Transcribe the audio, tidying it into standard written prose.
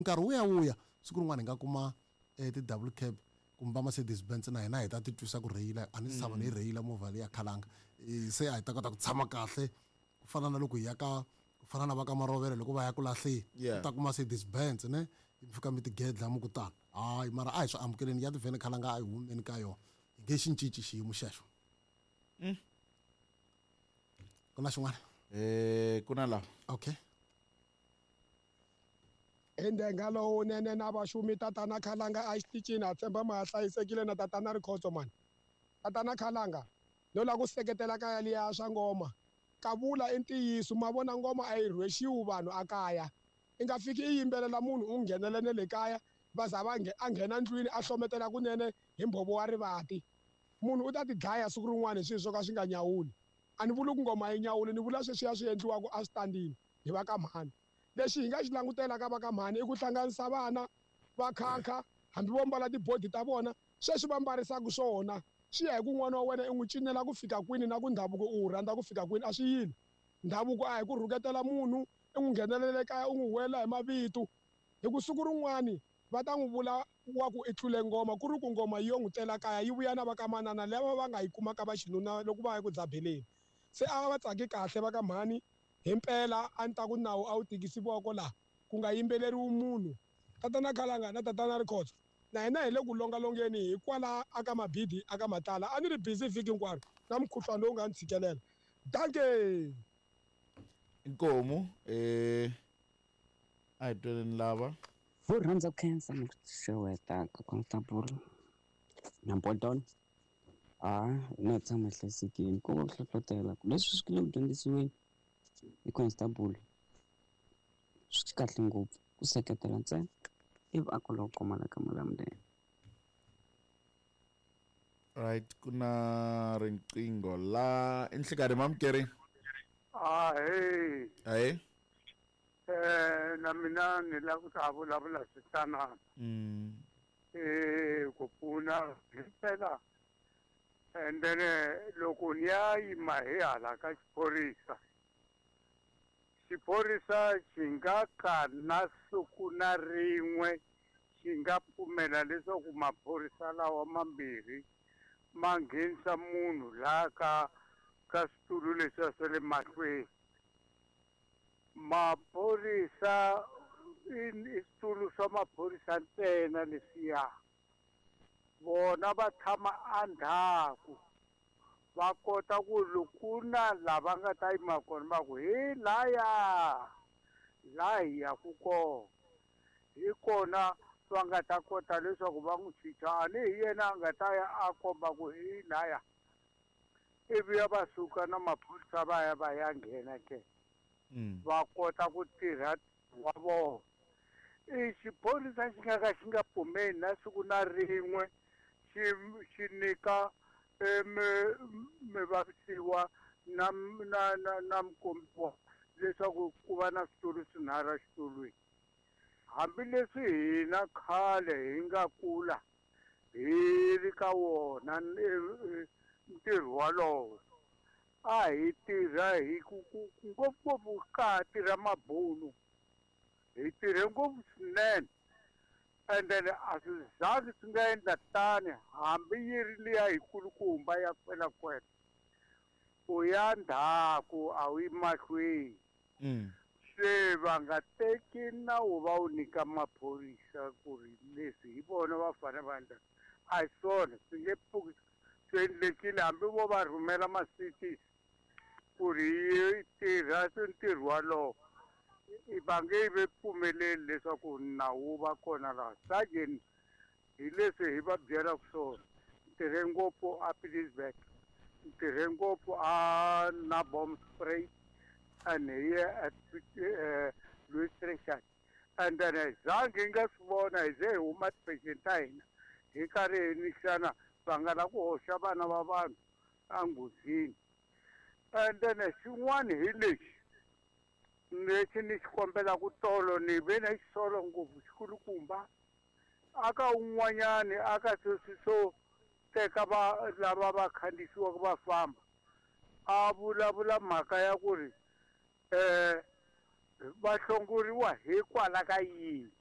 Nkarhi wu ya wu ya, siku rin'wana hi nga kuma ti-double cab kumbe va Mercedes Benz na hina hi ta titwisa ku rheyila. A ni si tshama ni yi rheyila movha leya khalanga. Se a hi ta kota ku tshama kahle ku fana na loko hi ya ka ku fana na va ka Marovela loko va ya ku lahleni. U ta kuma Mercedes Benz ne mi fika mi tigedla mi ku tani. Hayi mara a hi swi amukeleni ya tivhene khalanga a hi humeni ka yona. Hi nge xi cinci xiyimo xexo. Ku na xin'wana? Ku na lawa. Okay. Hi ndhenga lowunene na vaxumi tatana Khalanga a xitichini ha tshemba ma ha hlayisekile na tatana Rikhotso mani. Tatana Khalanga no lava ku seketela ka yaliya swa ngoma. Kavula i ntiyiso ma vona ngoma a yi rhwexiwi vanhu a kaya. I nga fiki i yimbelela munhu u nghenele ne le kaya va za va a nghena ndlwini a hlometela kunene hi mbhovo wa rivati. Munhu u ta ti dlaya siku rin'wana hi swilo swo ka swi nga nyawuli. A ni vuli ku ngoma a yi nyawuli ni vula sweswiya swi endliwaka eswitandini hi va ka mhani. Lexi hi nga xi langutela ka va ka mhani i ku hlanganisa vana va khankha hambi vo mbala tibodi ta vona sweswi va mbarisaka swona swi ya hi ku n'wana wa wena i n'wi cinela ku fika kwini na ku ndhavuko u wu rhandza ku fika kwini a swi yile. Ndhavuko a hi ku rhuketela munhu i n'wi nghenelela ekaya u n'wi huwelela hi mavito hi ku siku rin'wani va ta n'wi vula wa ku i tlule ngoma ku ri ku ngoma yi yo n'wi tela kaya yi vuya na va ka manana lava va nga yi kuma ka va xinuna loko va ya ku dzabeleni. Se a va tsaki kahle va ka mhani himpela a ni ta ku nawu a wu tikisi voko laha ku nga yimbeleriwi munhu. Tatana Khalanga na tatana Rikhotso na hina hi le ku longalongeni hi kwala aka Mabidi aka Matlala a ni ri busy vhiki hinkwaro na mukhuhlwani lowu nga ni tshikelela. Dankie! Inkomu a hi tweleni lava. Vo rhandza ku khensa ni ku xeweta ka constable na Bolton. A hina hi tshama hi hlayisekile ko va ku hlohlotela ku leswi swi le ku dyondzisiweni hi constable swi kahle ngopfu ku seketela ntsena ivi a kula ku kuma la ka Malamulele. Right ku na riqingho la i nhlikani mamukeri. Ahee. Ahee. Na mina ni lava ku ta vulavula switanana. Ku pfuna himpela and then loko ni ya yima hi hala ka xiphorisa xiphorisa xi nga ka na siku na rin'we xi nga pfumela leswaku maphorisa lawa mambirhi ma nghenisa munhu laha ka ka switulu leswiya swa le mahlweni. Maphorisa i switulu swa maphorisa ntsena leswiya. Vona va tshama endzhaku va kota ku loko na lava nga ta yima kona va ku hi laya laha hi yaku kona hi kona va nga ta kota leswaku va n'wi chicha a ni hi yena a nga ta ya a komba ku hi laya ivi ya va suka na maphorisa va ya va ya nghena ke va kota ku tirha wa vona. I xiphorisa xi nga ka xi nga pfumeli na siku na rin'we xi xi nyika mivavisiwa na na na na mukombiwa leswaku ku va na switulu swinharhu exitulwini. Hambileswi hina khale hi nga kula hi ri ka wona ntirho walowo a hi tirha hi ku ku ngopfungopfu ka ha tirha mabunu hi tirhe ngopfu swinene and then a swi zangi swi nga endla tani hambi yi ri liya yikulukumba ya kwelakwela u ya ndzhaku a wu yi mahlweni. Se va nga teki nawu va wu nyika maphorisa ku ri leswi hi vona va fanele va endla a hi swona swi nge pfuki swi endlekile hambi vo va rhumela ma-cities ku ri yi tirha ntirho walowo va nge ve pfumeleli leswaku nawu wu va kona laha. Sergeant hi leswi hi va byelaka swona ni tirhe ngopfu a Pietersburg ni tirhe ngopfu a Naboomspruit and here at Louis Trichardt and then zangi hi nga swi vona hi ze hi huma ti-patient ta hina hi karhi hi nixana va nga la ku hoxa vana va vanhu enghozini. And then xin'wana hi lexi lexi ni xi kombelaka tolo ni ve na xisolo ngopfu xikulukumba aka un'wanyani aka sweswi swo teka va lava va khandziyisiwaka va famba a vulavula mhaka ya ku ri va hlongoriwa hikwalaho ka yini.